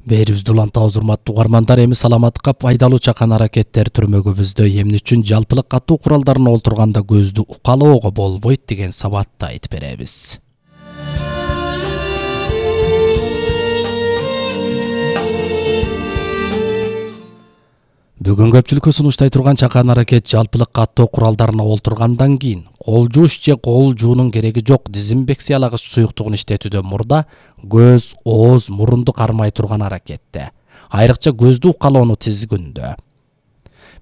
Берибизди улантабыз урматтуу угармандар. Эми саламаттыкка пайдалуу чакан аракеттер түрмөгүбүздө эмне үчүн жалпылык катуу куралдарына олтурганда көздү укалоого болбойт деген сабатты айтып беребиз. Бүгүн көпчүлүккө сунуштай турган чакан аракет жалпылык каттоо куралдарына олтургандан кийин кол жууш же кол жуунун кереги жок дезинфекциялагыч суюктугун иштетүүдөн мурда көз, ооз, мурунду кармай турган аракетте, айрыкча көздү укалоону тизгүндө.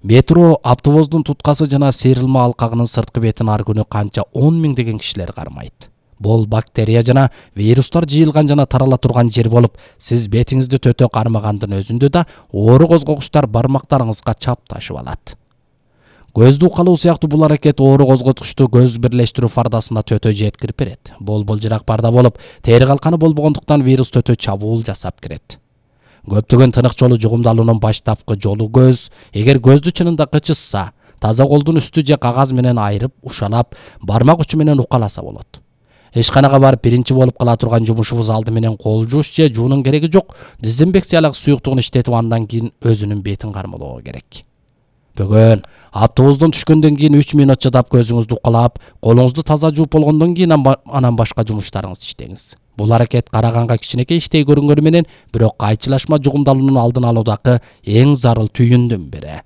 Метро, автобустун туткасы жана сейрилме алкагынын сырткы бетин ар күнү канча 10 миңдеген кишилер кармайт. Бул бактерия жана вирустар жыйылган жана тарала турган жер болуп, сиз бетиңизди төтө кармагандын өзүндө да оору козгогучтар бармактарыңызга чапташып алат. Көздү укалоо сыяктуу бул аракет оору козготкучту көз бирлештирүү фардасына төтө жеткирип берет. Былжырак парда болуп, тери калканы болбогондуктан вирус төтө чабуул жасап кирет. Көптөгөн тынык жолу жугумдалуунун баштапкы жолу көз. Эгер көздү чынында кычышса, таза колдун үстү же кагаз менен айырып, ушалап, бармак учу менен укаласа болот. Ишканага барып биринчи болуп кала турган жумушубуз алды менен кол жууш же жуунун кереги жок дезинфекциялык суюктугун иштетип андан кийин өзүнүн бетин кармалоо керек. Бүгүн автобустан түшкөндөн кийин 3 мүнөт чыдап көзүңүздү укалап, колуңузду таза жууп болгондон кийин анан башка жумуштарыңызды иштеңиз. Бул аракет караганга кичинекей иштей көрүнгөнү менен, бирок кайчылашма жугумдалуунун алдын алуудагы эң зарыл түйүндүн бири.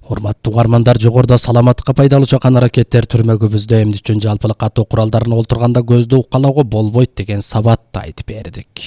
Урматтуу угармандар, жогоруда саламаттыкка пайдалуу чакан аракеттер түрмөгүбүздө эмне үчүн жалпылык каттоо куралдарына олтурганда көздү укалоого болбойт деген сабатты айтып бердик.